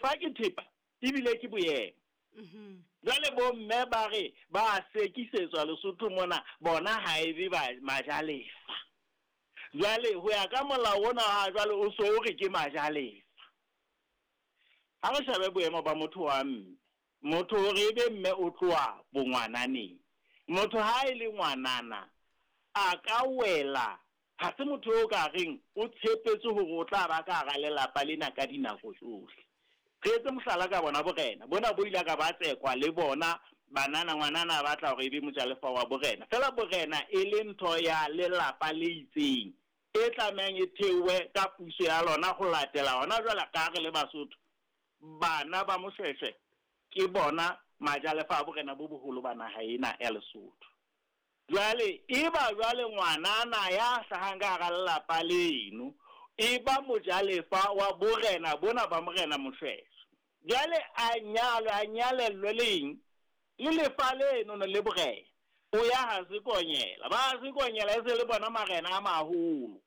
Lefa ke thepa ebile ke boemo. Jwale bo mme ba re ba sekisetswa Lesotho mona, bona ha e be ba majalefa. Jwale ho ya ka molao ona wa jwale o so o re ke majalefa. Ha re shebe boemo ba motho wa mme. Motho hore e be mme o tloha bongwananeng. Motho ha e le ngwanana a ka wela, ha se motho eo ka reng o tshepetse hore o tla ba ka hara lelapa lena ka dinako tsohle. Re etse mohlala ka bona borena bona bo ile ka ba tsekwa le bona banana, ngwanana a batla hore e be mojalefa wa borena. Feela borena e le ntho ya lelapa le itseng e tlamehang e theowe ka puso ya lona ho latela hona jwale ka re le Basotho. Bana ba Moshweshwe ke bona majalefa a borena bo boholo ba naha ena ya Lesotho. Jwale eba jwale ngwanana ya hlahang ka hara lelapa leno e ba mojalefa wa borena bona ba Morena Moshweshwe. Jwale a nyalwe, a nyalellwe le eng? Le lefa leno le borena. O ya ha Sekonyela. Ba Sekonyela e se le bona marena a maholo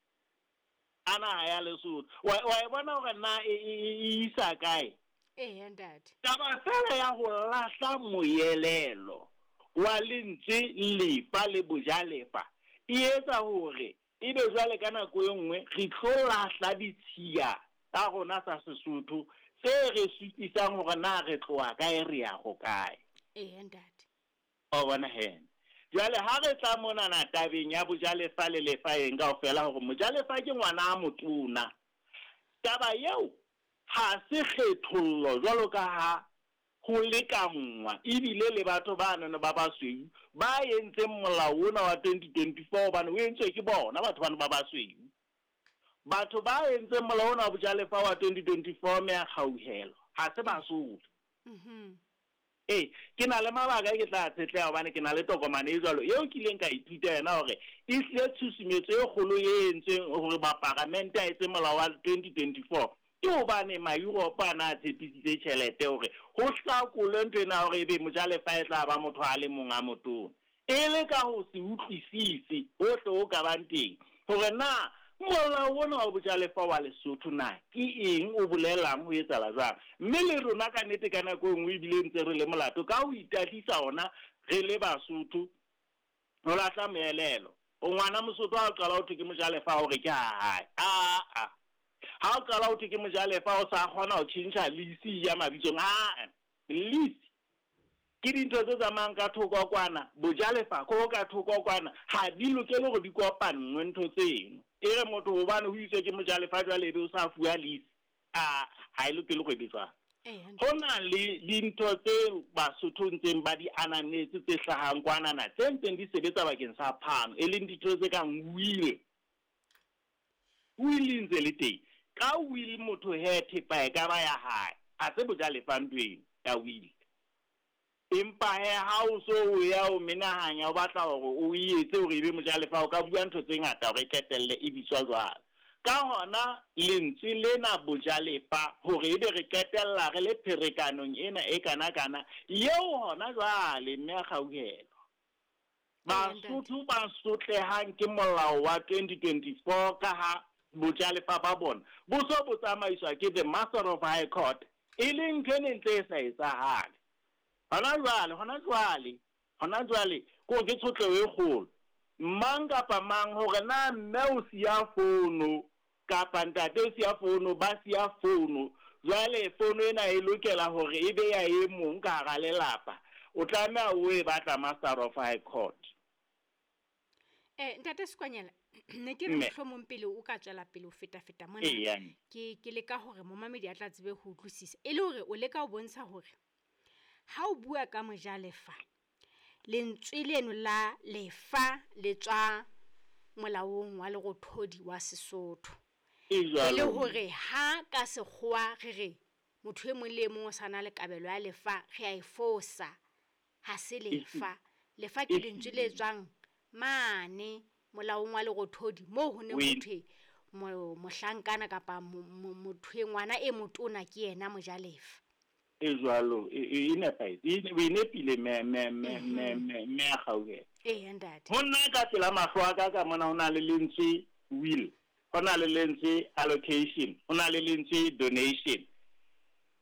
a naha ya Lesotho. Wa e bona hore na e isa kae? Eya, ntate. Taba feela ya ho lahla moelelo wa lentswe lefa le bojalefa e etsa hore ebe jwale ka nako e nngwe re tlo lahla ditshiya tsa rona tsa Sesotho tse re supisang hore na re tloha kae re ya hokae. Eya, ntate. O bona he. Jwale ha re tla monana tabeng ya bojalefa le lefa eng kaofela hore mojalefa ke ngwana a motona. Taba eo ha se kgethollo jwalo ka ha ho lekanngwa ebile le batho ba nono ba basweu ba entseng molao ona wa 2024 hobane o entswe ke bona batho bano ba basweu. Batho ba entseng molao ona wa bojalefa wa 2024 mme a kgauhelo ha se Basotho. Ee, ke na le mabaka e ke tla tshetleha hobane ke na le tokomane e jwalo eo kileng ka ithuta yona hore e hlile tshusumetso e kgolo e entsweng hore maparamente a etse molao wa 2024 ke hobane ma-Europe a na a tshepisitse tjhelete hore ho hlakolwe ntho ena hore ebe mojalefa e tla ba motho a le mong a motona. E le ka ho se utlwisise hohle ho ka bang teng hore na molao ona wa bojalefa wa Lesotho na ke eng, o bolelang, ho etsahala jwang. Mme le rona ka nnete ka nako e nngwe ebile ntse re le molato ka ho itahlisa ona re le Basotho ho lahla moelelo. O ngwana Mosotho ha o qala ho thwe ke mojalefa hore ke ha hae. Aa. Ha o qala ho thwe ke mojalefa o sa kgona ho tjhentjha lease ya mabitsong. Aa. Lease ke dintho tse tsamayang ka thoko kwana, bojalefa ko ka thoko kwana, ha di lokele hore di kopanngwe ntho tseno. E re motho hobane ho itswe ke mojalefa jwale ebe o sa fuwa lease, a ha e lokele hore e be jwalo. Ho na le dintho tse Basotho ntseng ba di ananetse tse hlahang kwanana tse ntseng di sebetsa bakeng sa phano, e leng dintho tse kang will. Will e ntse le teng. Ka will motho he thepa e ka ba ya hae, ha se bojalefa ntho eno ya will. Empa he ha o so o ya o menahanya o batla hore o e etse hore e be mojalefa, o ka bua ntho tse ngata hore e qetelle e bitswa jwalo. Ka hona lentswe lena bojalefa hore ebe re qetella re le pherekanong ena e kana-kana eo hona jwale mme a kgauhelwa. Basotho ba sotlehang ke molao wa 2024 ka ha bojalefa ba bona bo so bo tsamaiswa ke the Master of High Court, e leng ntho e neng ntse e sa etsahale. Hona jwale, hona jwale, hona jwale ko ke tshotleho e kgolo. Mang kapa mang hore na mme o siya fono kapa ntate o siya fono, ba siya fono. Jwale fono ena e lokela hore e be ya e mong ka hara lelapa. O tlameha o e batla Master of High Court. Ntate Sekwanyela, ne ke re mohlomong pele o ka tswela pele ho feta-feta mona, ke leka hore momamedi a tla tsebe ho utlwisisa. E le hore o leka ho bontsha hore ha o bua ka mojalefa, lentswe leno la lefa le tswa molaong wa Lerothodi wa Sesotho. E le hore ha ka sekgowa re re motho e mong le e mong o sa na le kabelo ya lefa, re a e fosa. Ha se lefa. Lefa ke lentswe le tswang mane molaong wa Lerothodi moo ho neng ho thwe mohlankana kapa motho e ngwana e motona ke yena mojalefa. E jwalo, e nepahetse, o e nepile mme a kgauhela. Eya, ntate. Ho nna ka pela mahlo a ka ka mona ho na le lentswe will, ho na le lentswe allocation, ho na le lentswe donation.